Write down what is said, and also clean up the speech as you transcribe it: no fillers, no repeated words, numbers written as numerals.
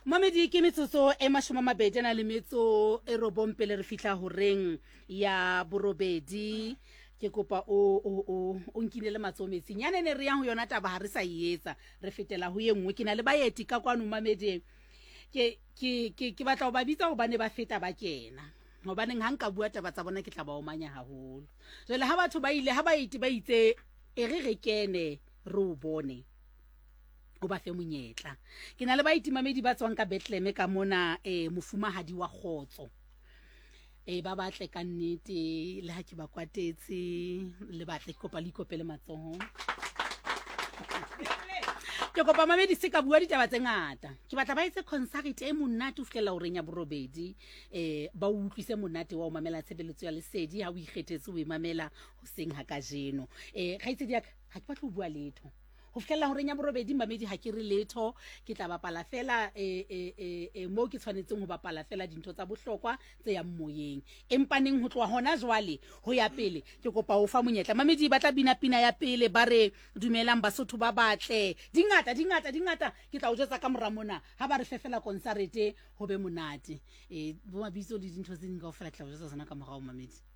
Mamedi, ke metsotso e 20 a na le metso e robong pele re fihla horeng ya borobedi. Ke kopa o o o o nkinele matsoho metsing. Yane ne re yang ho yona taba ha re sa e etsa, re fetela ho ye nngwe. Ke na le baeti ka kwano mamedi. Ke ke ke ke batla ho ba bitsa hobane ba feta ba kena. Hobaneng ha nka bua taba tsa bona ke tla ba omanya haholo. Jwale ha batho ba ile ha baeti ba itse e re re kene re o bone. O ba fe monyetla. Ke na le baitimamedi ba tswang ka Bethlehem ka mona, eh, mofumahadi wa kgotso. Eh, ba batle ka nnete le ha ke ba kwatetse le batle ke kopa le ikopele matsoho. Ke kopa mamedi se ka bua ditaba tse ngata. Ke batla ba etse concert e monate ho fihlela horeng ya borobedi. Eh, ba o utlwise monate wa ho mamela tshebeletso ya lesedi ha o ikgethetse o e mamela hoseng ha kajeno. Eh, kgaitsedi ya ka, ha ke batle ho bua letho. Ho fihlella horeng ya borobedi, mamedi, ha ke re letho. Ke tla bapala feela e, e, e, e, moo ke tshwanetseng ho bapala feela dintho tsa bohlokwa tse yang moyeng. Empa neng ho tloha hona jwale ho ya pele, ke kopa ho fa monyetla. Mamedi ba tla bina pina ya pele, ba re, Dumelang Basotho ba batle. Di ngata, di ngata, di ngata. Ke tla o jwetsa ka mora mona. Ha ba re fe feela konsarete, ho be monate. E, bo mabitso le dintho tse ding kaofela ke tla o jwetsa tsona ka morao, mamedi.